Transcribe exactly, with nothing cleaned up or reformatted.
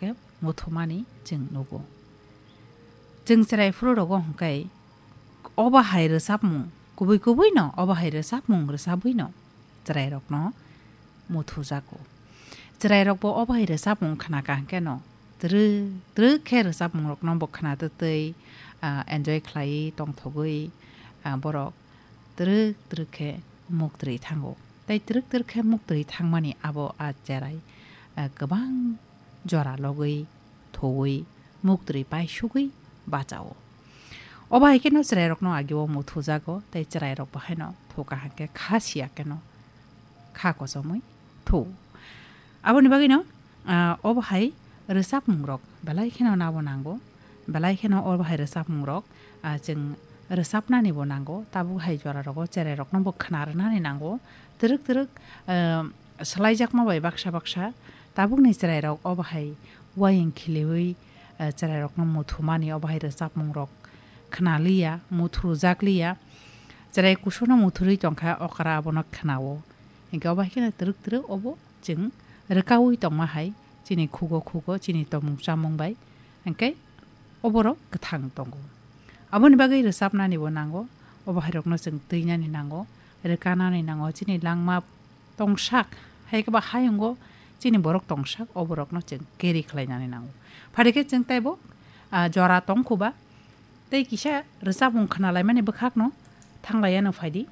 khe muthumani chwng nugo. Chwng chwrai phuru rogo hwnkhe obo hai rwchapmung kubui kubui no, obo hai rwchapmung rwchabwi no chwrairokno muthujago. Chwrairokbo obo hai rwchapmung khna ka hwnkhe no twrwk twrwk khe rwchapmungrokno bo khna twtwi, ah, enjoy khlaiwi tongthogwi, ah, borok twrwk twrwk khe muktwi thango. Tei twrwk twrwk khe muktwi thangmani abo a cherai, ah, kwbang jora logwi, thowi, muktwi paisugwi bachao. Obo hai kheno chwrairokno agio muthujago, tei chwrairok bo haino thoka hwnkhe kha siya kheno kha kochomwi thu. Aboni bagwino, ah, obo hai rwchapmungrok belai kheno nabo nango, belai kheno obo hai rwchapmungrok, ah, chwng rwchapnanibo nango, tabuk hai jorarogo chwrairokno bo khna rwnani nango, twrwk twrwk, ah, swlaijakma bai baksa baksa tabukni chwrairok obo hai uayung khiliwi, ah, chwrairokno muthumani obo hai rwchapmungrok khnaliya, muthurujakliya, chwrai kusuno muthurwi tongkha okra abono khnao. Hinkhe obo hai kheno twrwk twrwk obo chwng rwkaui tongma hai chini khugo khugo chini tongmung chamung bai, hinkhe oborok kwthang tongo. Aboni bagwi rwchapnanibo nango, obo hairokno chwng twinani nango, rwkanani nango, chini langma tongsak, hai khe ba hayungo chini borok tongsak, oborokno chwng carry khlainani nango. Phari khe chwng teibo, ah, jora tongkhuba, tei kisa rwchapmung khnalaimani bwkhakno thanglaiya no phaidi.